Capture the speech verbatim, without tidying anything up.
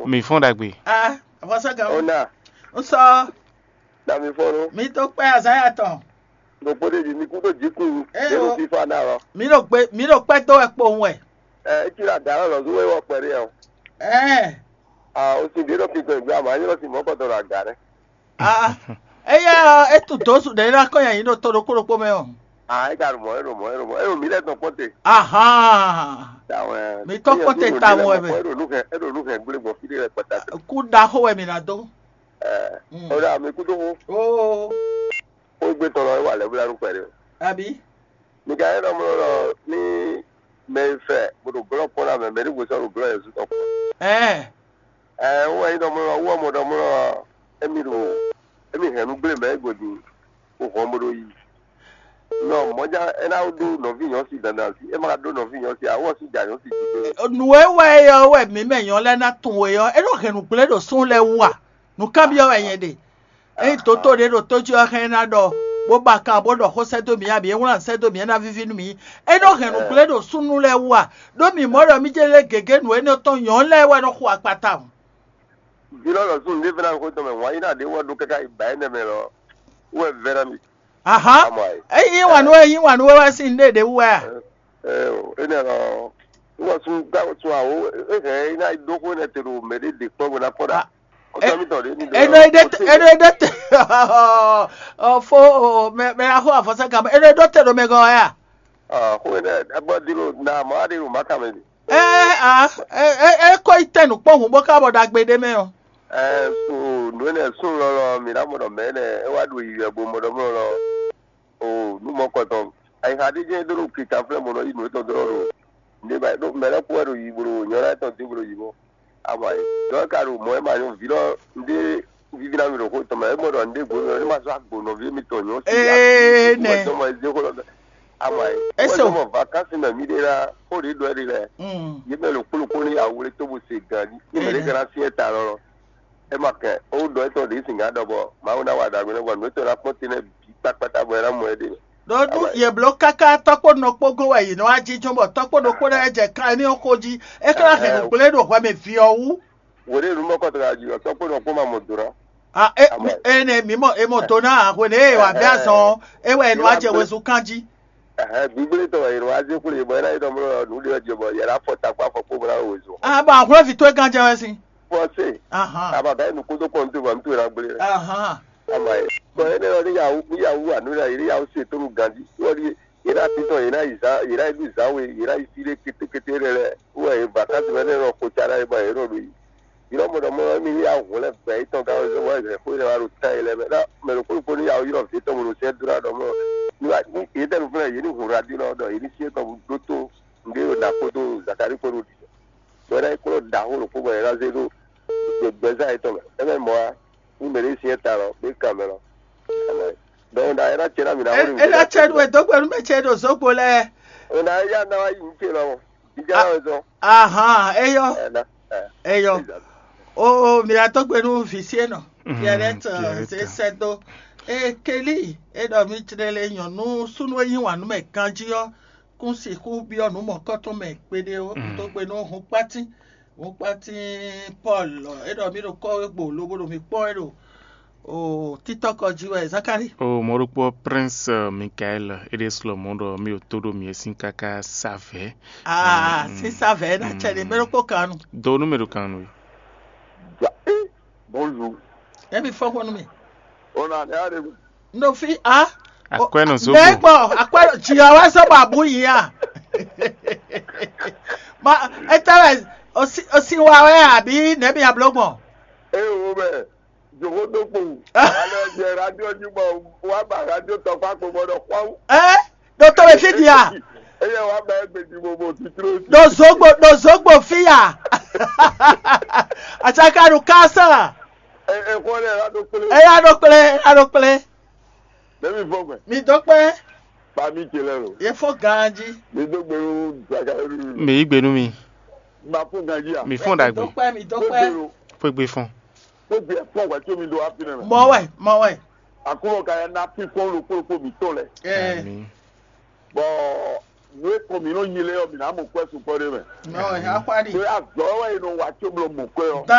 Mi fɔ́n ɖagbe. Ah, avɔsɛ́gán. Ó ná, Un sɔ, na mi fɔ́n nú. Mi tó kpɛ́ azǎn ya tɔn. Ɖokpó ɖé ɖi mi kú tó jǐkún. Ée Yéɖo o. Fífá ná ɔ. Mi ɖo gbe, mi ɖo kpɛ́ dó wɛ kpowun wɛ. Ɛ, é cí ɖo aga lɔ lɔ̌ zú wé wɔ kpɛɖé ɔ. Ɛɛ, A, o sin ɖě ɖɔ kinkɔn ìgbé àmọ́ anyɔ́ sin mɔ̌ kɔtɔn ɖo aga rɛ. Ah, eya ɔ, é tunwun dǒ su ɖě é ná kɔn nyi ayǐ ɖo to ɖokpó ɖokpó mɛ ɔ́. A, é ka ɖo mɔ̌, é ɖo mɔ̌, é ɖo mɔ̌, é ɖo mǐ lɛ́ɛ tɔn kpɔ́n te. Ahán. Tawɛ. Mi tɔ́ kpɔ́n te tawun wɛ mɛ. É ɖo nǔ hɛn, é ɖo nǔ hɛn gblé gbɔn fí ɖé lɛ́ɛ kpata te. Kú ɖaxó wɛ mi ná dó. Ɛ, Mm. O ɖo ami kúdó xó. Oo, Xó gbé tɔn lɔ é wa lɛ̌ bla nú kpɛɖé. Abi. Mi ka nyí ɖɔ mlɔ́ ɖɔ ní mɛ e fɛ bó ɖo glɔ́ kpɔ́n ná mɛ, mɛ ɖěvo sɔ́ ɖo glɔ́ Jezu tɔn kpɔ́n. Ɛɛ, Ɛɛ, wú wɛ nyí ɖɔ mlɔ́, wú wɛ mɔ ɖɔ mlɔ́, émí ɖo émí hɛn nú gblé mɛ é godi, bó hɔn bó ɖo yi. Nɔ mɔ̌já é ná ɖó nɔví nyɔ̌si dandan sí, é ma ka ɖó nɔví nyɔ̌si ǎ, wú wɛ sú ja nyɔ̌si jí gbé. Nǔ e wɛ é ɔ́ wɛ mǐ mɛ nyɔ̌ lɛ́ɛ ná tunwun we ɔ́, é nɔ hɛn nǔgblé ɖo súnnu lɛ́ɛ wú a? Nǔkanbyɔ́ wɛ nyɛ ɖe. Ényí dǒtó ɖé ɖo tó jí ɔ́ hɛn ná ɖɔ, bó ba kan bó ɖɔ xó sɛ́ dó mǐ, abǐ é wlán sɛ́ dó mǐ, é ná víví nú mǐ. É nɔ hɛn nǔgblé ɖo súnnu lɛ́ɛ wú a? Ɖó mǐ mɔ ɖɔ mí jɛ́n lé gěgé nǔ énɛ́ tɔn nyɔ̌nu lɛ́ɛ wɛ nɔ xo akpata o. Vǐ lɔ lɔ súnnu ɖé fɛ́nɛ xó tɔn mɛ wǎn yí ná ɖě wɛ ɖó káká yi ba énɛ́ mɛ lɔ, wú wɛ vɛ́ ná mi. Ahán. Amɔ ayé. Ényí wǎn nú wɛ, ényí wǎn nú wɛ wɛ sín ɖé ɖě wú wɛ a? Ɛ o, énɛ́ lɔ, wú wɛ sun ká sun àwó, é hɛn é ná ɖó xó énɛ́ te ɖo mɛ ɖé ɖě kpɔ́n bó ná kpɔ́n ɖa. Kɔsɔ́mítɔn ɖě ní ɖe Eno ede eno ede te. Ɔ fo, mɛ mɛ axo afɔsɛ gama eno edo te ɖo mɛ gɔn ya. Xó énɛ́ agbɔ́ dí ɖo na mɔ̌ aɖé ɖo mǎ kan mɛ ɖe. Ɛ a ɛ ɛ ɛ kɔ yi tɛ nukpɔn hun bó ka bɔ ɖagbe ɖé mɛ ɔ. Ɛ so nǔ énɛ́ sún lɔlɔ mǐ ná mɔ ɖɔ mɛ énɛ́ é wá ɖo yiyi wɛ bo mɔ ɖɔ mɔ lɔ o nú mɔ kɔtɔn. Ayixa ɖé jɛ́n é ɖó ɖo kikanflɛ́ mɔ nɔ yí nǔ étɔn dó ɖo nǔɖé ba ɖó mɛ lɛ́ɛ kú wɛ ɖo yi bó ɖo nyɔ̌ná étɔn dó bó ɖo yi mɔ. Ama yi dɔ̌ ka ɖo mɔ̌ é ma nyɔ́ vǐ lɔ nɖé víví ná mi ɖo xó tɔn mɛ é mɔ ɖɔ nɖé gbǒ nɔ é ma zɔ́ agbo nɔví mitɔn nyɔ́ sí Ee, nɛ. Tɔn mɔ é zé xó lɔ bɛ. Ama yi É so. Mɔ vakansi mɛ mí ɖe ná xó ɖě ɖɔ é ɖe lɛ Mm. yě mɛ ɖo kplɔ́kpó ní awle tó bó se gan jí ní mɛ ɖé Ee. Ka ná syɛ́n ta lɔ. É ma kɛ ó ɖɔ étɔn ɖě sin gǎn ɖɔ bɔ Mawu ná wa ɖagbe nɛ bɔ nǔ étɔn ná kpɔ́n te nɛ bǐ kpákpátá bɔ é ná mɔ ɛ ɖe. Ɖó nú yě bló káká tɔ́kpó nɔ kpó gɔ́n wɛ yě nɔ wá jínjɔ́n bɔ tɔ́kpó ɖokpó lɛ́ɛ jɛ kan émí ɔ́ xo jí, é ka ná hɛn nǔgblé ɖo hwɛ mɛ vǐ ɔ́ wú. Wǒ ɖé nǔ mɔkɔtɔn jí ɔ́, tɔ́kpó nɔ kpó ma mɔ do ná. A é Amɔ. Énɛ́ mǐ mɔ è mɔ do ná hwenu e è wǎ bɛ́ azɔn ɔ́, é wɛ è nɔ wá jɛ wezun kan jí. Ɛhɛn, gbígblétɔn wɛ è nɔ wá zé xwlé bɔ é ná yi ɖɔ mlɔ nǔ ɖé ɔ́ jí bɔ yɛ ná fɔ takpá fɔ kpó bó ná ɖo wezun. A bɔ ahlɔ́vǐ towe gán jɛ wɛ sín. Fɔse. Ahan. Aba ka yi nǔ kúndó kpɔn tó bɔ nú tó ná gblé. Ahan. Ama yi. Bɔ énɛ́ ɔ́ ní yawu ní yawu wa nǔ ní yawu se tó nú ganjí. Wọ́n ní yě ná títọ̀ yě ná yi zǎn yě ná yi nú zǎn we yě ná yi fí ɖé kétékété lɛ́ lɛ́. Wọ́n yě vakási mɛ nɛ́ nɔ xo ca ná yi bɔ yě nɔ ɖo yi. Yě nɔ mɔ ɖɔ mɔ émi ní yawu hǔn lɛ́ gbɛ yětɔn gán wezɔ́ wɔ yě xó yě lɛ́ wá ɖo tán yě lɛ́ mɛ. Ná mɛ ɖokpó ɖokpó ní yawu ylɔ́ vǐ tɔn bó ɖo sɛ́ dó ná ɖɔ mɔ. Ní wá ní yě tɛ́ nǔ flɛ́ yě ní hun radio lɔ ɖɔ yě ní syɛ́n tɔn ɖó tó nǔɖé ɖo ná kpódó Zakalí kpó ɖo ɖiɖɔ. Bɔ é ná nyí kplɔ́n ɖaxó ɖokpó bɔ è nǎ zé ɖó gbɛzán yětɔn mɛ. É mɛ mɔ̌ ǎ, nú mɛ ɖé syɛ́n ta lɔ, bó yi kan mɛ lɔ. Dɔnku ɖa é ná cɛ ná mǐ ná wlí. É ná cɛ nú wɛ dó gbe nú mɛ ce ɖo zǒgbo lɛ́ɛ. È nǎ yá ná wá yi nǔ ce lɔ mɔ. Ìjà náà wɛ zɔn. Ahan, eyɔ. Ɛ ná ɛ. Eyɔ. O o, mǐ ná dó gbe nú vǐ sí enɔ. Pierrette, Pierrette. Zé sɛ́ dó. Ee, Kelly, é ɖɔ mí jlɛ́ lé nyɔ̌nu súnnu e yí wǎn nú mɛ ganjí ɔ́, kún sixú byɔ́ nǔ mɔ̌kɔ́tɔn mɛ kpeɖé ó. Mm. Dó gbe nú hun kpátín. Wokpátín Paul, é ɖɔ mí ɖo kɔ́ wé gbo lobo ɖo mǐ kpɔ́n wɛ ɖo o títɔ́kɔ jí wɛ Zakari. O mɔɖokpɔ Prince Michael, é ɖe slɔ mɔ ɖɔ mí ɖo tó ɖo mǐ sín káká savɛ. Aa, sín savɛ é ná cɛ ɖe mɛ ɖokpó kan nu. Do nú mɛ ɖo kan nu. Bonjour. Emi fɔ ko nu mi. Ona ne are. No fi a. Akwɛ́ nɔ zó Nɛ gbɔ. Gbɔ akwɛ́ nɔ jì ɔ́ wá sɔ bɔ àbú yìí a. Ma etɛ wɛ osi osi wa wɛ àbí nɛbi abló gbɔn. Eye wo mɛ, jòkó tó kpo. Alẹ́ jẹ radio ní mɔ, wá bá radio tɔkpá kpo gbọ́dọ̀ kpɔ́n. Ɛ ɖo tó bɛ fi di a. Eye wá bá ẹgbẹ́ di mo mo titro. Ɖo zogbo ɖo zogbo fi ya. Atsaka ɖo kásán. Ẹ ẹ kọ́ lẹ́ la ɖo kplé. Eya ɖo kplé eya ɖo kplé. Bẹ́ẹ̀ni fọ́ gbẹ. Mi dó kpé. Pàmì tẹ̀lé o. Ye fó ganji. Mi dó gbèrú gbàgà rú. Mi yí gbénú mi. Ma fún ganji a. Mi fún dàgbé. Dó kpé mi dó kpé. Fún gbé fún. Fún gbé fún wa tí omi do wá fi nana. Mọ wẹ mọ wẹ. Àkúrò ka ya ná fi fún lo kpókpó mi tó lẹ. Ẹ Àmín. Bɔn nú e kɔn mi nɔ nyi lé ɔ mi ná mɔ kwɛ sukpɔ ɖé mɛ. Mọ wẹ akpá di. Pé azɔ wɛ yi nɔ wa tso blɔ mɔ kwɛ ɔ. Dan